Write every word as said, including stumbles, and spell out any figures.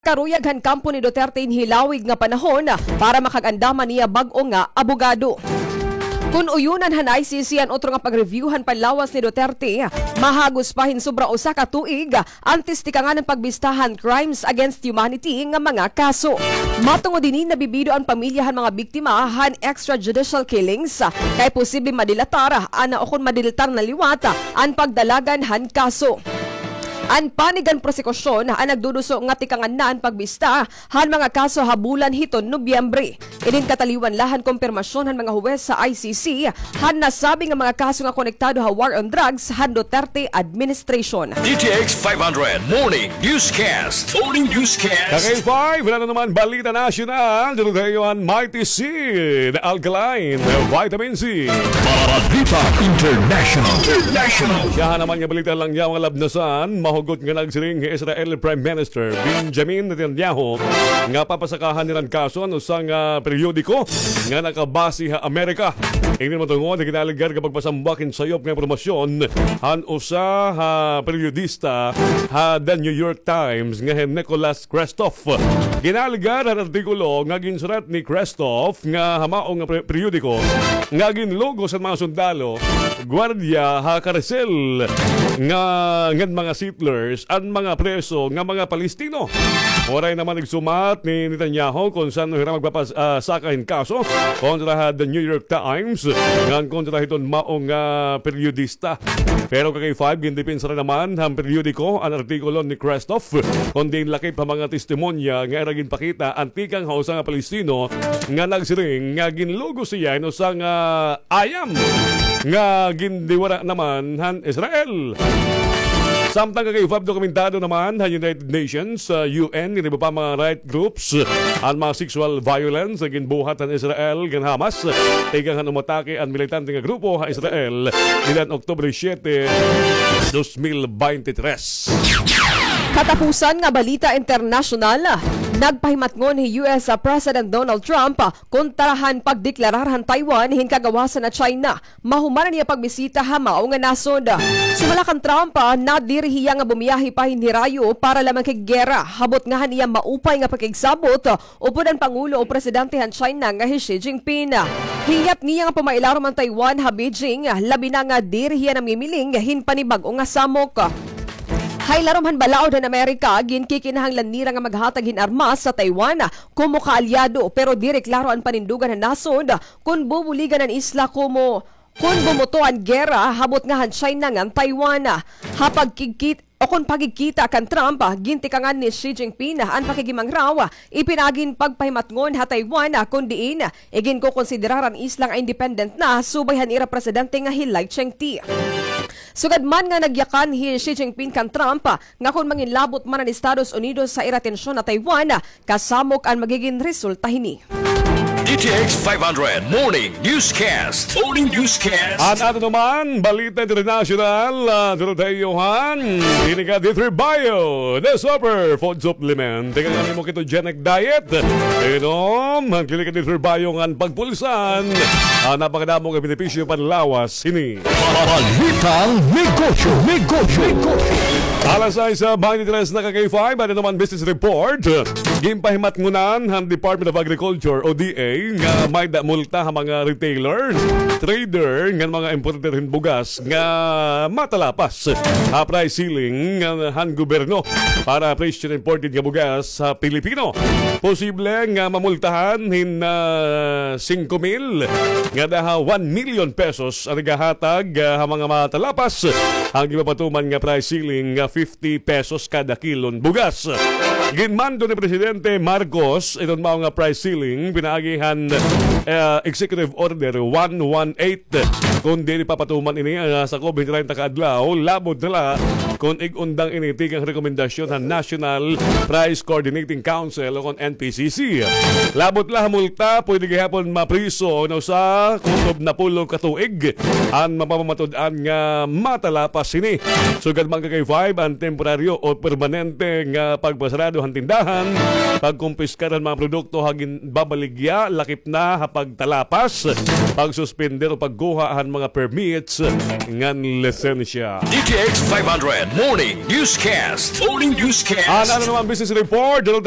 Karuyag han kampo ni Duterte in hilawig nga panahon para makag-andam han iya bag-o nga abogado. Kon uyonan han I C C an utro nga pag-review han panlawas ni Duterte, mahagos pa hin sobra usa ka tuig antes tikangan an pagbista han crimes against humanity nga mga kaso. Matungod hini, nabibido an pamilya han mga biktima han extrajudicial killings, kay posible madilatar, ana, o kon madiltar na liwat an pagdalagan han kaso. An panig han prosekusyon an nagduduso nga tikangan na an pagbista han mga kaso ha bulan hiton Nobyembre. Inin kataliwan la han kumpirmasyon han mga huwes sa I C C han nasabi nga mga kaso nga konektado ha war on drugs han Duterte administration. D T X five hundred Morning Newscast. Morning Newscast. Kakay five, wala na naman balita nasyonal. Dito tayo an Mighty Seed Alkaline Vitamin C. Balita International. International. Siya naman nga balita lang niya, mga labnasan, mahugot nga nagsiring hi Israel Prime Minister Benjamin Netanyahu nga papasakahan nira hin kaso an usa nga periodiko nga nakabase ha Amerika. Ini matungod ha ginaalegar nga pagpasambak hin sayop nga impormasyon han usa ha periodista ha The New York Times nga hi Nicholas Kristof. Ginaalegar han artikulo nga ginsurat ni Kristof nga ha mao nga pre-, periodiko nga ginlugos han mga sundalo, gwardiya ha karsel nga ngan mga settlers an mga preso nga mga Palestino. Waray naman igsumat ni Netanyahu kon san-o hira magpapas-, ah, saka hin kaso kontra ha The New York Times ngan kontra hiton mao nga periodista. Pero kakay five, gindepensa ra naman han periodiko an artikulo ni Kristof, kon diin lakip ha mga testimonya nga ira ginpakita an tikang ha usa nga Palestino nga nagsiring nga ginlugos hiya hin usa nga ayam nga gindiwara naman han Israel. Samtang kakay five, dokumentado naman han United Nations, ah, U N, ngan iba pa mga right groups, an mga sexual violence nga ginbuhat han Israel ngan Hamas tikang han umatake an militante nga grupo ha Israel nidan Oktubre siyete, dos mil beintitres. Katapusan nga balita internasyonal, nagpahimatngon hi U S President Donald Trump kontra han pagdeklarar han Taiwan hin kagawasan na China mahuman an iya pagbisita ha mao nga nasod. Sumala kan Trump, ah, nadiri hiya nga bumiyahe pa hin hirayo para la makiggera, habot nga han iya maupay nga pakigsabot upod an pangulo o presidente han China nga hi Xi Jinping. Hiyap niya nga pamailarom an Taiwan ha Beijing, labi na nga diri hiya namimiling hin panibag-o nga samok. Ha ilarom han balaod han Amerika, ginkikinahanglan nira nga maghatag hin armas sa Taiwan komo kaalyado, pero diri klaro an panindugan han nasod kon bubuligan an isla komo kon bumoto an gera habot nga han China ngan Taiwan. Ha pagkigkit-, o kon pagkikita kan Trump, gintikangan ni Xi Jinping an pakikimangraw, ipinaagi hin pagpahimatngon ha Taiwan, kon diin iginkokonsiderar an isla nga independent na subay han ira presidente nga hi Lai Ching-te. Sugad man nga nagyakan hi Xi Jinping kan Trump nga kon manginlabot man an Estados Unidos sa ira atensyon ha Taiwan, kasamok an magigin resulta hini. D T X five hundred Morning Newscast. Morning Newscast. An aton naman balita internasyonal, ah, Dorothea Johan, hini ka D three Bio, the super food supplement. Tikang an imo ketogenic diet, inom an Clinica D three Bio ngan pagpulsan. Ah, napakadamo nga benepisyo panlawas hini. Balitang negosyo, negosyo, negosyo. Alas sais, ah, beintitres na, kakay five, aton naman business report. Ginpahimatngonan han Department of Agriculture o D A nga may-ada multa ha mga retailer, trader ngan mga importer hin bugas nga matalapas ha price ceiling nga han gobyerno para presyo hin imported nga bugas ha Pilipino. Posible nga mamultahan hin, ah, singko mil ngada ha one million pesos an igahatag, ah, ha mga matalapas an ginpapatuman nga price ceiling nga fifty pesos kada kilon bugas. Ginmando ni Presidente Marcos iton mao nga price ceiling pinaagi han, ah, Executive Order one one eight. Kon diri papatuman ini, ah, sakob hin treinta ka adlaw, labot na la kon ig-undang ini tikang rekomendasyon han National Price Coordinating Council o kon N P C C. Labot la ha multa, pwede gihapon mapriso hin usa kutob napulo ka tuig an mapamatud-an nga matalapas hini. Sugad man, kakay five, an temporaryo o permanente nga pagpasarado han tindahan, pagkumpiskar han mga produkto ha ginbabaligya, lakip na ha pagtalapas, pagsuspender o pagkuha han mga permits ngan lisensya. D T X five hundred Morning Newscast. Morning Newscast. An ano naman business report, Dulog